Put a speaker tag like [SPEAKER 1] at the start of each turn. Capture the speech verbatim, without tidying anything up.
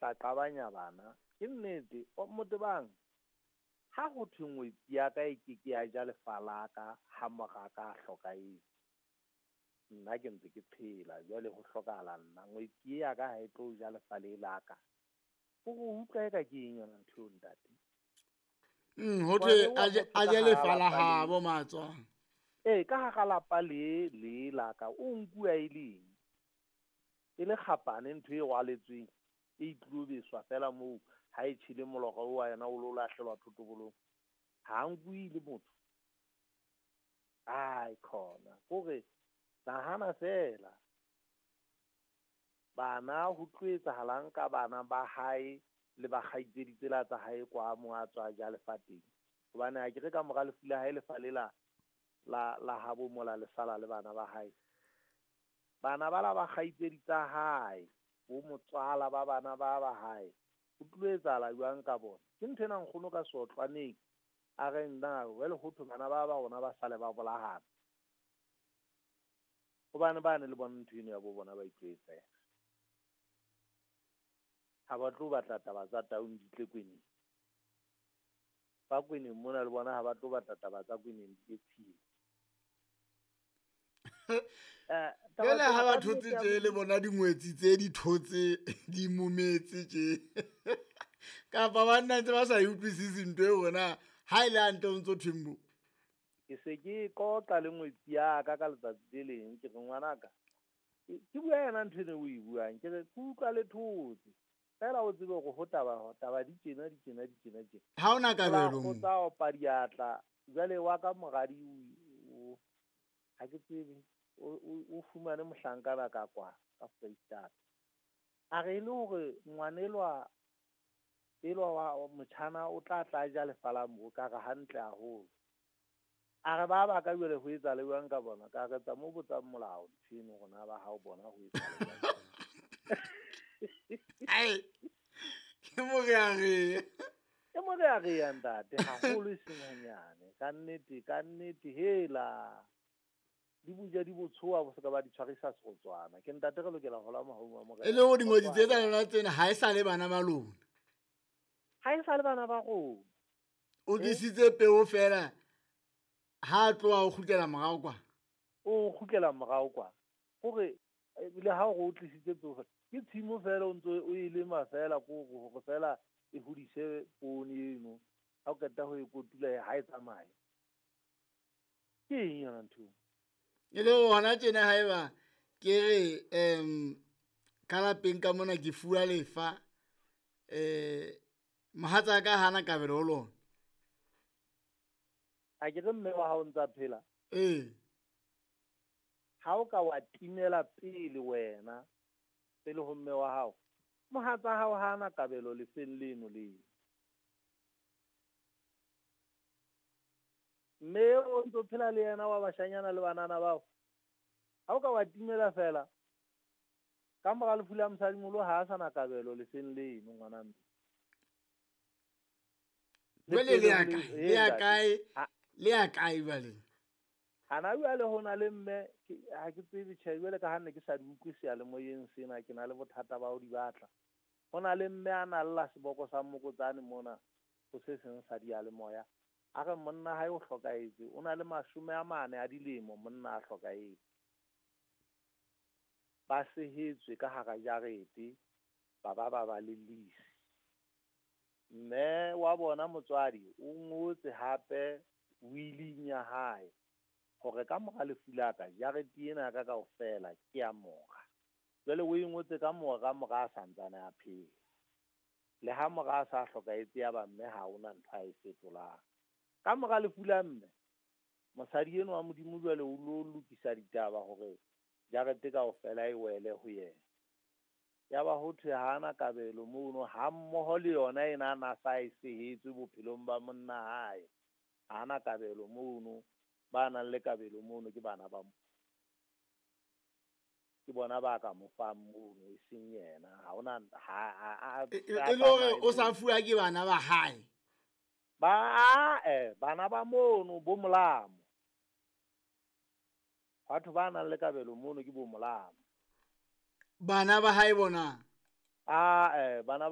[SPEAKER 1] tla qabanya bana. Ke nnete, Motebang, ha ho thwe ngwetsi ya ka e ke ke ya ja lefa la ka ha mora ka a hlokahetse. Nna ke ntse ke phela, jwale ho hlokahala nna. Ngwetsi ya ka ha e tlo ja lefa le la ka. O go utlwa eka ke eng yona ntho eo, ntate?
[SPEAKER 2] Mm, ho thwe a je lefa la habo matswa.
[SPEAKER 1] Ee, ka hara lapa le le la ka, o nkuwa e leng. E le kgapane ntho e rwaletsweng, e tlilo beswa fela moo ha e tjhele molora o wa yona o lo lahlelwa thotobolong. Ha nkuwe le motho. Ai khona, kore nahana fela. Bana ho tlo etsahalang ka bana ba hae le ba kgaitsedi tsela tsa hae kwa mo a tswa ja lefa teng. Hobane ha ke re ka mora lefu la hae lefa le la la la habo mola le sala le bana ba hae. Bana ba la ba kgaitsedi tsa hae, bo motswala ba bana ba ba hae. Ho tlo etsahala jwang ka bona? Ke ntho ena nkgono ka sotlwaneng. A re nna jwale ho thwe bana ba ba rona ba sale ba bolahana. Hobane bane le bona ntho eno ya bo bona ba itlwaetsa. Ha ba tlo batla taba tsa taung di tle kweneng. Ba kweneng mona le bona ha ba tlo batla taba tsa kweneng di tle tshilo. Eh,
[SPEAKER 2] Jwale ha ba thotse tje le bona dingwetsi tse di thotse di mometse tje. Kapa ba nna ntse ba sa e utlwisisi ntho eo hore ha e le hantle o ntso thweng mo.
[SPEAKER 1] Ke se ke qoqa le ngwetsi ya ka ka letsatsi le leng, ke re ngwanaka, ke bua yena ntho eno o e buang, ke re ke utlwa le thotse. Fela o tsebe hore ho taba, taba di tjena, di tjena, di tjena, tjena.
[SPEAKER 2] Ha hona kabelo mo.
[SPEAKER 1] Tsa opa diatla, jwale wa ka moradi o, ha ke tsebe, o, o, o fumane mohlankana ka kwa, ka Foreisetata. A re e le hore ngwanelwa, elwa wa motjhana o tla tla ja lefa la mo, ka re hantle haholo. A re ba ba ka jwale ho etsa le jwang ka bona, ka re tsa mo botsang molao ntho eno hore na ba hao bona ho etsa le jwang.
[SPEAKER 2] Ai, ke morearea.
[SPEAKER 1] Ke morearea ntate, haholo e seng hanyane. Ka nnete, ka nnete, hela. Di buja di botshoha bo se ka ba di tshwarisa serotswana. Ke ntate re lokela ho hola mahong a morena.
[SPEAKER 2] E le hore dingwetsi tse tsa lona tsena ha e sa le bana ba lona.
[SPEAKER 1] Ha e sa le bana ba rona.
[SPEAKER 2] O tlisitse peo fela ha a tloha o kgutlela morao kwa.
[SPEAKER 1] O kgutlela morao kwa. Hore le ha o tlisitse peo fela, ke tshimo fela o ntso o e lema fela ko hore fela e hodise poone eno. Ha o qeta ho e kotula ha e tsamaye. Ke eng yona ntho?
[SPEAKER 2] E le hona tjena haeba ke re em ka lapeng ka mona ke fuwa lefa, eh mohatsa ka hana kabelo ho lona.
[SPEAKER 1] A ke re mme wa hao ntsa phela?
[SPEAKER 2] Ee.
[SPEAKER 1] Ha o ka wa timela pele wena, pele ho mme wa hao, mohatsa hao hana kabelo lefeng leno le. Mme o ntso phela le yena wa bashanyana le banana bao. Ha o ka wa timela fela, ka mora lefu la mosadimoholo ha a sa na kabelo lefeng leno ngwana mme.
[SPEAKER 2] Jwale le ya kae? Le ya kae? Le ya kae jwale?
[SPEAKER 1] Hana jwale ho na le mme, ha ke tsebe tjhe, jwale ka ha nne ke sa di utlwe seyalemoyeng sena, ke na le bothata ba ho di batla. Ho na le mme a na lla seboko sa mokotsane mona ho se seng sa diyalemoya. A re monna hae o hlokahetse, o na le mashome a mane a dilemo monna a hlokahetse. Ba sehetswe ka hara jarete, ba ba ba ba le lisi. Mme wa bona motswadi o ngotse hape willing ya hae hore ka mora lefu la ka jarete ena ya ka kaofela ke ya mora. Jwale o e ngotse ka mora, mora a santsane a phela. Le ha mora a sa hlokahetse ya ba mme ha hona ntho a e fetolang. Ka mora lefu la mme, mosadi enwa wa Modimo jwale o lo lokisa ditaba hore jarete kaofela e wele ho yena. Ya ba ho thwe ha ana kabelo mono, ha mmoho le yona ena a na sa e sehetswe bophelong ba monna hae. Ha ana kabelo mono, ba nang le kabelo mono ke bana ba mo. Ke bona ba ka mo fang mono, e seng yena. Ha hona, ha, ha, ha,
[SPEAKER 2] E, e, e le hore o sa fuwa ke bana ba hae?
[SPEAKER 1] Ba, eh, bana ba mono, bo molamo. Batho ba nang le kabelo mono ke bo molamo.
[SPEAKER 2] Bana ba hae bona?
[SPEAKER 1] Ah, eh, bana ba